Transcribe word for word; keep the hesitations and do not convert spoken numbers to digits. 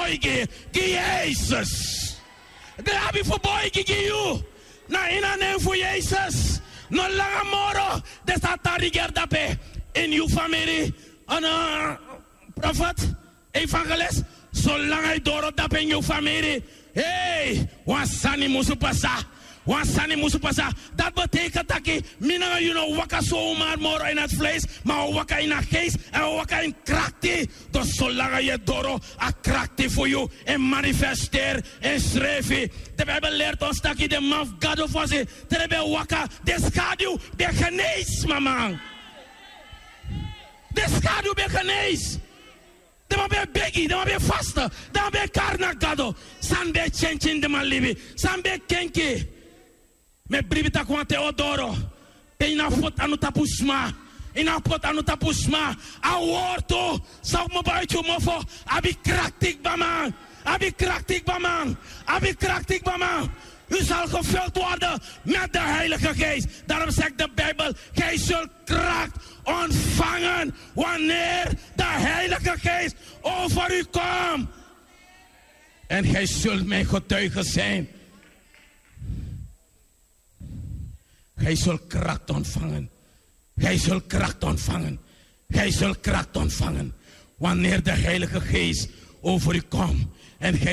boigi gi Yesus. Den abi fu boigi gi yu. Na ini a nen fu Yesus. No langa moro den sa tan rigeri dape ini yu famiri. Ana profet, evangelis, solanga yu doro dape ini yu famiri. Hei, wan sani musu pasa. Wan sani musu pasa. Dati betekent taki mi nanga yu no waka zomaar moro in het vlees, ma wi waka in a geest en wi waka in krakti. Dus solanga yu e doro, a krakti fu yu e manifesteri en srefi. De Bijbel leert ons taki den man fu Gado fosi, te den ben waka, den schaduw ben genees, mama. Den schaduw ben genees. Den man ben begi, den man ben faste, den man ben kari na Gado. San ben tyentyen den man libi, san ben kenki. Mi e bribi taki wan ten o doro. Te yu no abi poti anu tapu sma, yu no abi poti anu tapu sma. A wortu san o kmopo uiti yu mofo abi krakti kba man. Abi krakti kba man. Abi krakti kba man. U zal gevuld worden met de Heilige Geest. Daarom zegt de Bijbel: gij zult kracht ontvangen wanneer de Heilige Geest over u komt. En gij zult mijn getuigen zijn. Gij zult kracht ontvangen. Gij zult kracht ontvangen. Gij zult kracht ontvangen. Wanneer de Heilige Geest over u komt. En gij